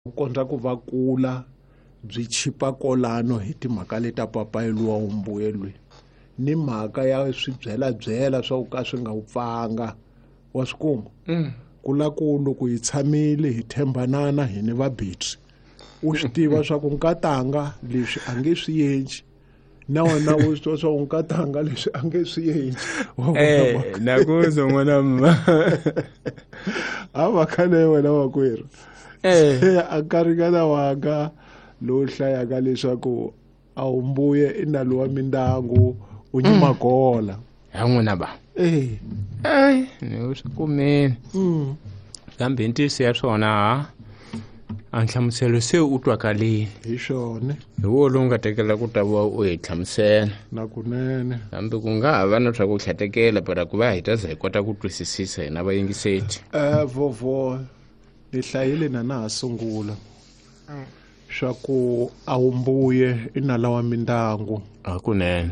Ku kondza ku va kula byi chipa kolano hi timhaka leta papayi luwa wumbuyelweni ni mhaka ya swibyelabyela swa ku ka swi nga wupfanga wa swi kuma ku la ku loko hi tshamile hi tshembanana hi ni vabitri u swi tiva swa ku nkatanga leswi a nge swi endli na wena u swi tiva swa ku nkatanga leswi a nge swi endli. Eh, nakuzwa n'wana mma. A mhaka leyo wena makwerhu. Eh. Se a nkarhingana wanga lowu hlayaka leswaku a wu mbuye i nalo wa mindyangu u nyimagola. Ha n'wina ba. Eh. Eh, ni u swi kumile. Kambe ntiyiso ya swona ha a nhlamuselo se u twakalile. Hi swona. Hi wo lowu nga tekela ku ta va u hi hlamusela. Na kunene. Kambe ku nga ha va na swa ku hlatekela para ku va hi ta za hi kota ku twisisisa hina vayingiseti. Eh vovo ni hlayile na na ha sungula swa ku a wu mbuye i nala wa mindyangu. Hakunene.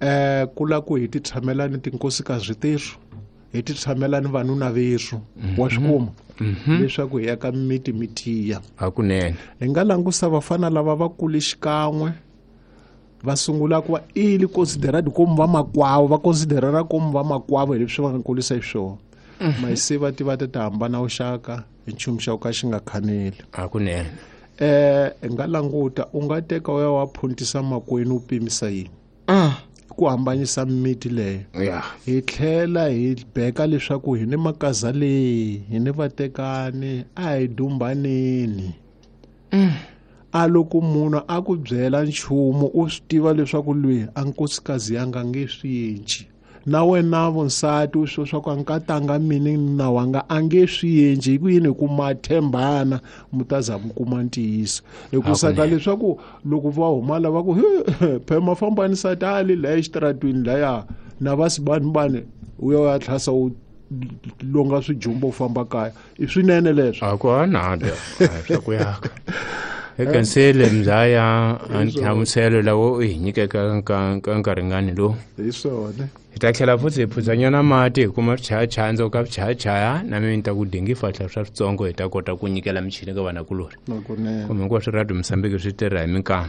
Eh ku la ku hi ti tshamela ni tinkosikazi terhu hi ti tshamela ni vanuna verhu wa swi kuma leswaku hi ya ka miti mi tiya. Hakunene. Hi nga langusa vafana lava va kule xikan'we va sungula ku va ili considerad komu va makwavo va considerara komu va makwavo hi leswi va nga kulisa hi swona mayise va tiva ti ta hambana vuxaka hi nchumu xa ku ka xi nga khaneli. Hakunene. Eh hi nga languta u nga teka u ya wa phuntisa makwenu u pimisa yini ku hambanyisa miti leyo. Hi tlhela hi beka leswaku hi ni makaza leyi hi ni vatekani a hi dumbaneni. A loko munhu a ku byela nchumu u swi tiva leswaku loyi a nkosikazi ya nga nge swi endli na wena vonsati u swi swa ku a nkatanga mini na wanga a nge swi endli hi ku yini hi ku ma tshembana mi ta za mi kuma ntiyiso hikusa ka leswaku loko va huma lava ku phema fambani nsati a le laya exitaratweni laya na va sibanibani u ya u ya tlhasa u longa swijumbo u famba kaya i swinene leswo. A ku hanada swa ku yaka ekansele mzaya a nhlamuselo lawo u hi nyikeka ka nkarhingani lowu. Hi swona. Hi ta tlhela futhi hi phudzanyana mati hi kuma swichayachaya ndzhaku ka swichayachaya na mina ni ta ku dingi fahla swa switsongo hi ta kota ku nyikela michini ka vanakulorhi. Nakunene. Kumbe hinkwaswo radio Mozambique swi tirha hi minkama.